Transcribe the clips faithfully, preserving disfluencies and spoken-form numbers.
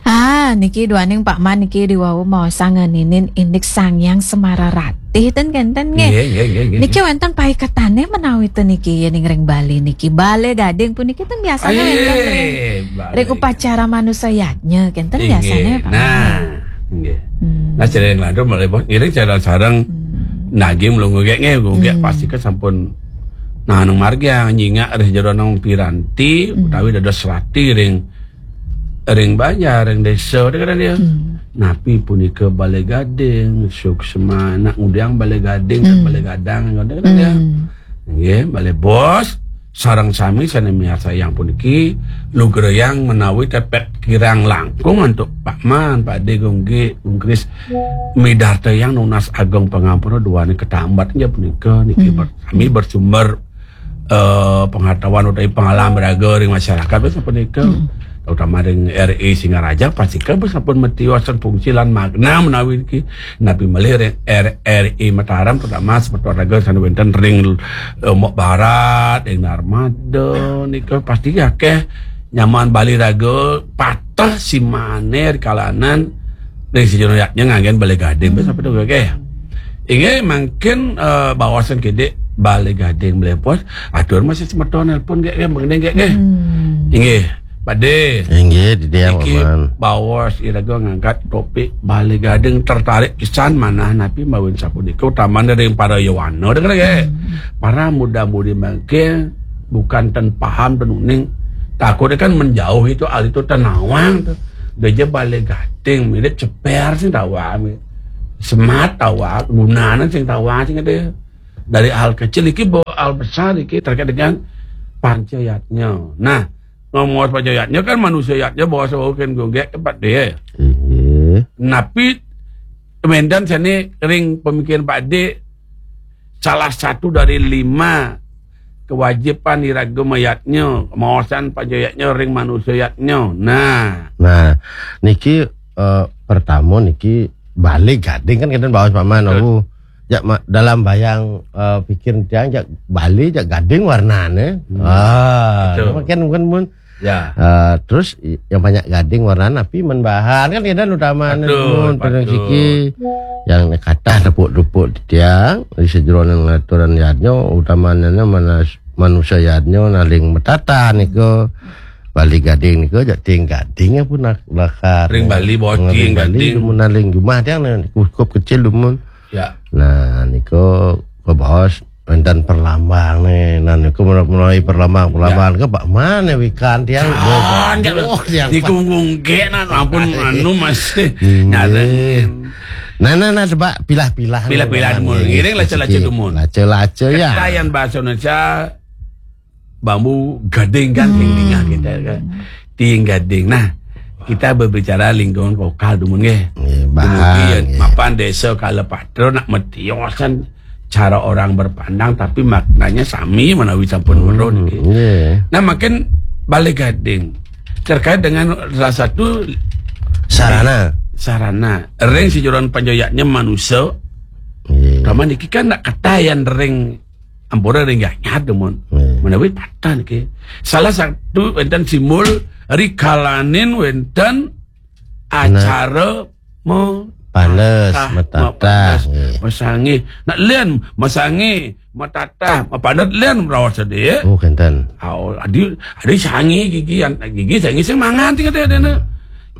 Ah, niki duaning Pak Man niki diwau maosang ngeninin indik Sang Hyang Semara Ratih ten kenten nggih. Nggih, nggih, nggih, nggih. Niki wenten paiketane menawi ten niki yening ring Bali niki. Bale Gading puniki ten biasanya wenten ring, ring upacara manusa yadnya kenten biasanya, Pak Man. Nah, nggih. Hmm. Nah, sering lantur malih bos ngiring sareng-sareng nagih mlungu gek nggih, nggih pasti kan sampun nah nang margi nyingak ring jero nang piranti utawi dados rati ring ring banjar, ring desa, kadang-kadang dia. Hmm. Napi punika Bale Gading, suksma, nak ngudiang Bale Gading, kan Bale Gadang, kadang-kadang dia. Hmm. Nggih, Bale Bos, sareng sami sane miarsayang puniki, lugrayang menawi tepet kirang langkung antuk Pak Man, Pak De, Gung Gek, Gung Kris, midartayang nunas ageng pangampura duane katambat inggih punika, niki ber-, sami bersumber eh, pengetahuan utawi pengalaman raga ring masyarakat wis sapunika. Hmm. Terutama ring R I Singaraja pasti kan sampun matiosan fungsi lan makna menawi niki. Napi malih ring R-, R I Mataram terutama semeton raga sane wenten ring Lombok Barat, ring Narmada nika pasti akeh nyaman Bali raga pateh simane ring kalanan ring sejero yatnya nganggen Bale Gading wis sapunika nggih. Inggih, mangkin, eh, baosan kidik Bale Gading Bale Bos, atur masih semeton nelpon nggih, nggih, mengenai nggih, nggih. Hmm. Inggih, Pak De. Inggih, Pak Man. Baos iraga ngangkat topik Bale Gading tertarik pisan manah napi mawin sapunika utamane ring para yowana dengar nggih. Hmm. Para muda-mudi mangkin bukan ten paham ten uning. Takutnya kan menjauh itu hal itu ten nawang tuh. Dia aja Bale Gading, mirip ceper sing tawang. Semat tawang, gunanan sing tawang sing ada. Dari hal kecil iki bawa hal besar iki terkait dengan panca yatnya. Nah, ngomong panca yatnya kan manusia yatnya bawa sewakin gonggek tempat dia. Iya. Napi mendan sini ring pemikiran Pak De salah satu dari lima kewajiban iraga mayatnya, maosan panca yatnya ring manusia yatnya. Nah. Nah, niki, eh, pertama niki Bale Gading kan kenten baos Pak Man. Betul. Aku jak ma-, dalam bayang, eh, pikir tiang jak Bale jak gading warnane. Hmm. Ah, betul. Mungkin, mungkin mun. Ya. Eh, terus i-, yang banyak gading warnane napi men bahan kan kenten utamane. Betul, mun, betul. Siki yang kata tepuk-tepuk tiang di sejeroning aturan yadnya utamane manas-, manusia yadnya naling matata nika. Bale Gading nika jak tiing gading pun nak lakar. Ring Bali, bos, ring tiing Bali, gading. Dumun naling jumah tiang ne, cukup kecil dumun. Ya. Nah, nika kabaos wenten perlambang ne. Nah, nika menawi perlambang, perlambang ke Pak Man ne wikan tiang. Kan, oh, tiang di kungkung ke, nah, ampun, anu masih. Iya. Nyata. Nah, nah, nah, coba pilah-pilah. Pilah-pilah dumun. Ngiring laca-laca dumun. Laca-laca ya. Ketayan bahasa Indonesia bambu gading kan, hmm, ring dingah kita kan. Tiing gading. Nah, kita berbicara lingkungan lokal dumun nggih. Nggih, bahan, dumugi, nggih, mapan desa Kala Patra nak matiosan cara orang berpandang tapi maknanya sami menawi sampun, hmm, weruh niki. Nggih. Nah, makin Bale Gading terkait dengan salah satu sarana. Sarana. Ring sejeroan panca yatnya manusia. Nggih. Kaman niki kan nak ketayan ring ampura ring ganyat dumun. Hmm. Menawi patah niki. Salah satu wenten simbol rikalanin wenten, nah, acara me-, panes, tatah, matatah, mapanes, nggih, masangih. Nak lian masangih, matatah, mapanes lian meraos sedih. Oh, kenten. Au, adi, adi sangih gigi, an-, gigi sangih sing mangan tinggal dia, dia, nak.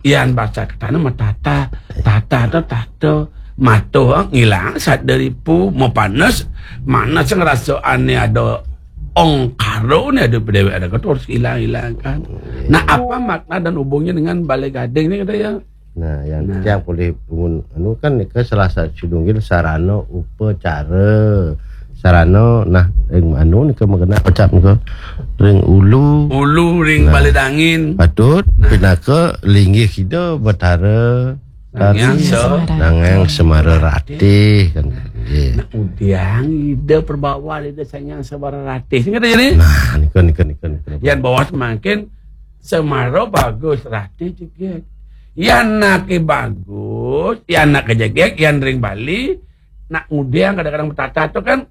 Yan baca katana matata, tata to tato, mato ngilang sadaripu, mapanes, manes ngrasane ada ongkaro ne ada dewek ada terus hilang-hilang kan. Nah, apa makna dan hubungnya dengan Bale Gading ni kata ya? Nah, yang, nah, yang boleh bangun anu kan nika salah satu sidunggil sarana upacara. Sarana, nah, ring anu nika makena pecap nika. Ring ulu. Ulu ring, nah, Bale Dangin. Patut, nah, pinaka linggih kita Betara Sang Hyang Tari. Se-, Sang Hyang Semara Ratih kan. Nggih. Nah, udiang ida perbawa ida Sang Hyang Semara Ratih. Sing kata jadi? Nah, nika, nika, nika, nika. Yan bawa semakin Semara bagus Ratih jegeg. Yan nake bagus, yan nak jegeg, yan ring Bali, nak ngudiang kadang-kadang betata tu kan,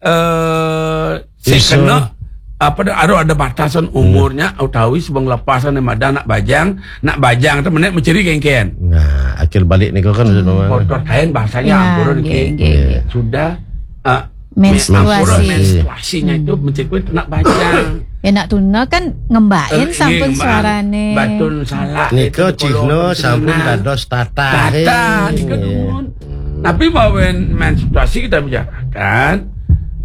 eh, sing kena Apa dah, ada, ada batasan umurnya, utawi sebelum lepasan yang ada nak bajang, nak bajang tu menek menceri kengken. Nah, akhir balik ni kau kan sudah. Kotor kain bahasanya ampun nggih, nggih, nggih. Sudah uh, Menstruasi. Menstruasinya itu menceri nak bajang. Ya nak tuna kan ngembain sampun suarane. Batun salah. Nika cihna sampun dados tatah. Tatah nika dumun. Tapi mawen menstruasi kita bicarakan,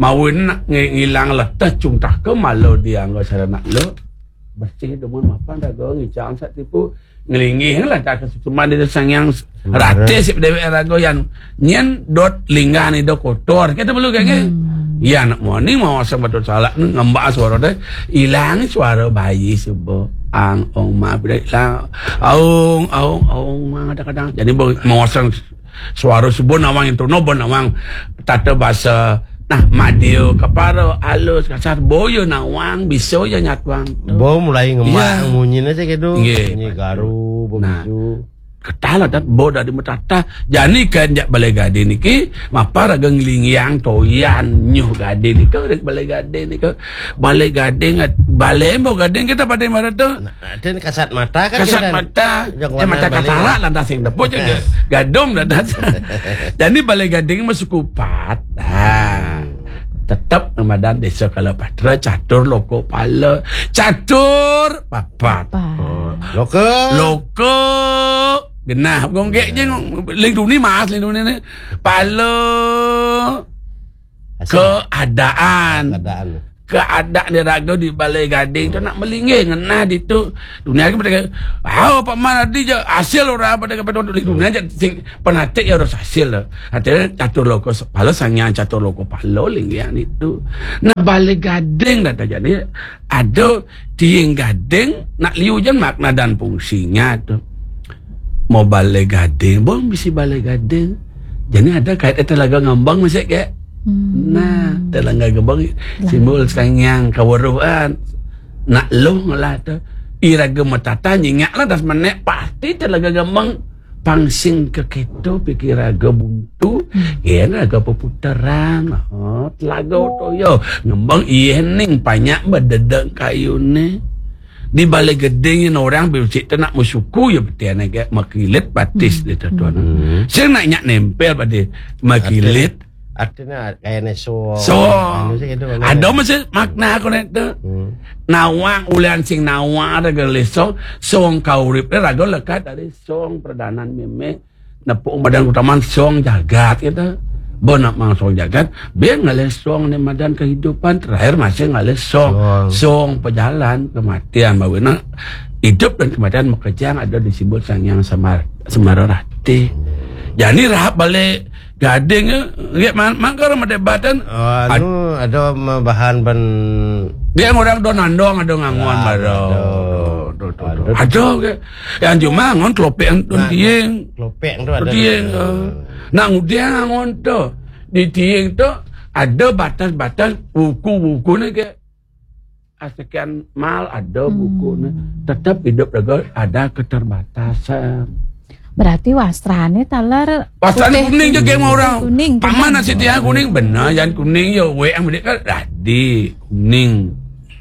mawen nak ngilang leteh cungtah ke malu dianggo sarana lo. Bersih dumun mapan raga ngicang sak tipu ngelinggih lah tak kesusuman di sangyang rate sip dewek raga yang nyen dot linggan ida kotor kita perlu kayak hmm. Ya nak moni mau asal betul salah ni ngembak suara deh ilang suara bayi subuh ang ong ma bila ilang aung aung aung ma kadang-kadang jadi mau asal suara subuh nawang itu no bon nawang tata bahasa nah madio kepara alus kasar boyo nawang biso ya nyatuang tu. Bo mulai ngemak Ya. Munyi aja gitu. Nggih. Munyi garu, bo Nah. bisu. Ketala dat bo dari metata. Jani kan jak balai gading niki mapa raga ngelingiang toyan nyuh gading nika dari balai gading nika. Balai gading balai mau gading kita pada mana tu? Nah, dan kasat mata kan Kasat kita. mata, Yang ya, mata warna katarak lantas yang tepuk je. Gadong lantas. Jadi balai gading masuk kupat. Ha. Tetap namadan desa Kalapatra catur loko pala. Catur papat. Apa? Loka. Loko genah gonggek je ling duni mas ling duni ni. Pala keadaan. Keadaan. Keadaan dia raga di balai gading tu nak melinggih ngenah di tu. Dunia ke mereka, "Hau Pak Man adi je hasil orang pada kata di dunia je sing penatik ya harus hasil lah." Artinya catur loko pala sangyang catur loko pala linggih itu. Nah balai gading dah jadi ada tiing gading nak liu je makna dan fungsinya tu. Mau balai gading, bon bisi balai gading. Jadi ada kait telaga ngambang masih ke. Hmm. Nah, telaga ngambang simbol sangyang kaweruhan. Nak lo ngelah tu. Iraga matata nyingak lah das menek pasti telaga ngambang pangsing ke keto pikir raga buntu. Hmm. Ya raga peputaran. Oh, telaga toyo ngambang iya ning banyak bededek kayu ni. Di balai geding ni orang bisik tu nak musuku ya betul ni ke makilit batis dia tu tuan. Hmm. Saya nak nyak nempel pada makilit. Artinya kayak neso. So, Anu sih gitu, ada masih makna aku nak tu. Hmm. Nawang ulian sing nawang ada gele so, song kaurip dia raga lekat dari song perdanan meme. Nepuk madan utama song jagat kita. Bo nak mang song jagat, biar ngalih song ni madan kehidupan terakhir masih ngalih song. Song pejalan kematian bawa nak hidup dan kematian makejang ada di simbol sangyang samar semara rati. Jadi rahap balik gading ke, dia man mangkar madebatan. Anu ada bahan ban dia orang do nandong ada ngangon baru. Ada ke. Yang cuma ngon kelopek tu tiing. Kelopek tu ada. Tiing. Nak ngudiang ngon tu. Di tiing tu ada batas-batas buku-buku ni ke. Sekian mal ada buku ni. Tetap hidup juga ada keterbatasan. Berarti wastrane taler Wastrane kuning je game orang. Kuning. Paman nasi tiang kuning benar yang kuning ya we yang mereka radi kuning.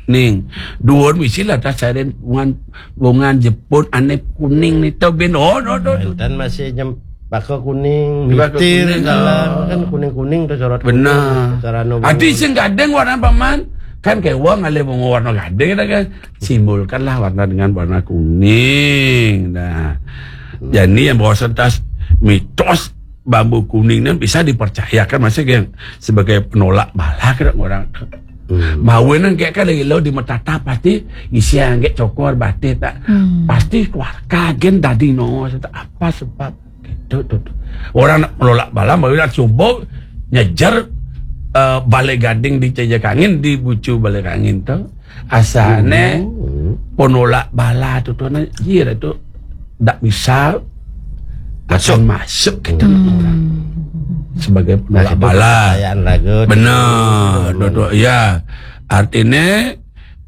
Ning, dua misi lah tas saren bungan bungan Jepun ane kuning ni tau ben oh no no. Dan masih nyem baka kuning, Baka mitir kuning. Dalam kan kuning-kuning tu sorot. Benar. Cara no. Ati sing gading warna paman kan kewang ale bunga warna gading dah kan. Simbolkanlah warna dengan warna kuning. Nah. Jadi yang bawa sentas mitos bambu kuning ni bisa dipercayakan masih yang sebagai penolak bala ke orang tu. Hmm. Bawa nang kayak kan lagi lo di matata pasti isi angget cokor batik tak. Hmm. Pasti keluarga gen dadi no tak apa sebab gitu tu. Orang nak menolak bala bawa nak subuh nyejar uh, balai gading di Cejak Angin di bucu balai angin tu. Asane hmm. Penolak bala tu tu na jira tu tak bisa masuk masuk kita hmm. Orang sebagai penolak bala. Benar, betul. Ya. Artinya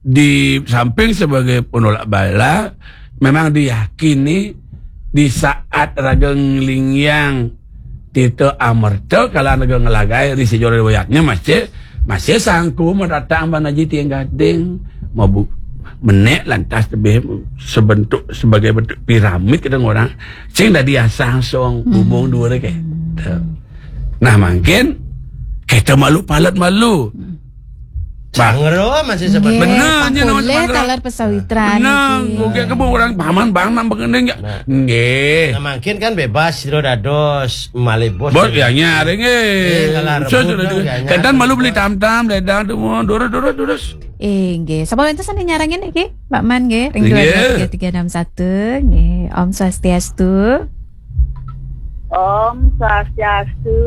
di samping sebagai penolak bala memang diyakini di saat raga ngelingyang Tito Amerta kalau raga ngelagai di sejarah riwayatnya masih Masih sangku mau datang ban aji tiang gading, mau bu menek lantas lebih sebentuk sebagai bentuk piramid kadang orang. Sing dadi asang song bubung dua ke. Nah, mungkin kita malu palat malu. Bang. Sangro masih sebut. Nggih, bener, pangkulih nyen, Mas, taler pesawitran bener, niki. Oke, kebun orang paman bang nang begini enggak? Nah. Nggih. Nah, mungkin kan bebas, sira dados malih bos. Bos, ya, nyari, nggih. Eh, kalau Sus, rebut sudah dong, juga. Ya, nyari. Kadang malu beli tam-tam, ledang, tuh, mau durus, durus, durus. Eh, nggih. Sapa wenten sane nyarengin niki? Pak Man, nggih. Ring nggih. Dua dua tiga tiga enam satu, nggih. Om Swastiastu. Om Swastiastu.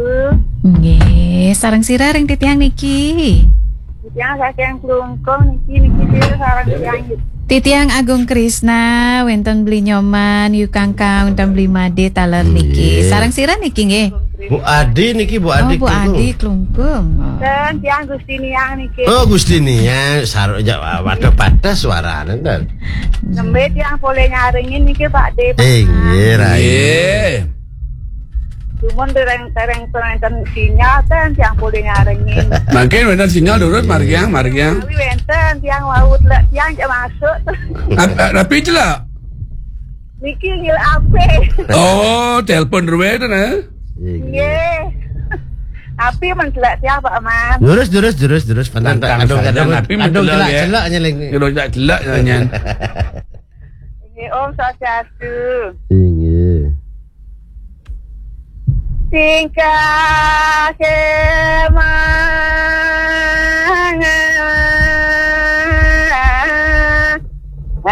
Nggih, sareng sira ring titiang niki. Titiang saking Klungkung niki, niki sira sareng tiang. Titiang Agung Krisna, wenten Beli Nyoman, Yu Kangkang, wenten Beli Made taler niki. Nggih. Sareng sira niki nggih. Bu Adi niki, Bu Adi. Oh, Bu Klungkung. Adi Klungkung. Oh. Dan tiang Gustiniang niki. Oh, Gustiniang, sar-, ja-, waduh, patah suarane, ten. Nembe tiang polih nyarengin niki, Pak De, Pak. Eh, nggih, Rai. Nggih. Cuman dereng-dereng wenten sinyal, ten, tiang polih nyarengin. Mungkin wenten sinyal, durus, margiang, margiang. Tapi wenten, tiang wau lek tiang jak masuk. Ap-, rapi celak? Niki ngil ape? Oh, telepon ruwe to, nah. Nggih. Tapi men celak tiang, Pak Man. Durus, durus, durus, durus. Pantang, pantang, adung, saja, adung, tapi men adung, celak, celak, ya. Celak, nyeling. Durus, celak, celak, nyan. Nggih, Om Swastiastu. Inggih. Tingkah kemang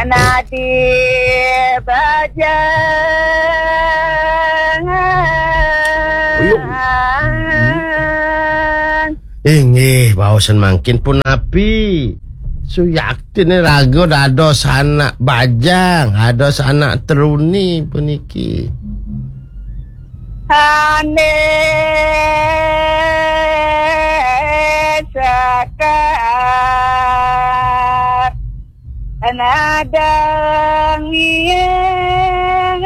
nadi bajang. Uyung. Inggih, baosan mangkin punapi. Suyaktine raga dados anak bajang, dados anak truni puniki. Ane sekar nadang yen.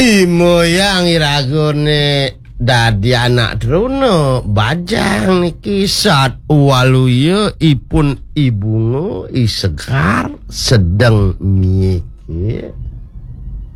Imoyang iragane dadi anak truna bajang niki sat waluya ipun ibunga isegar sedeng mie.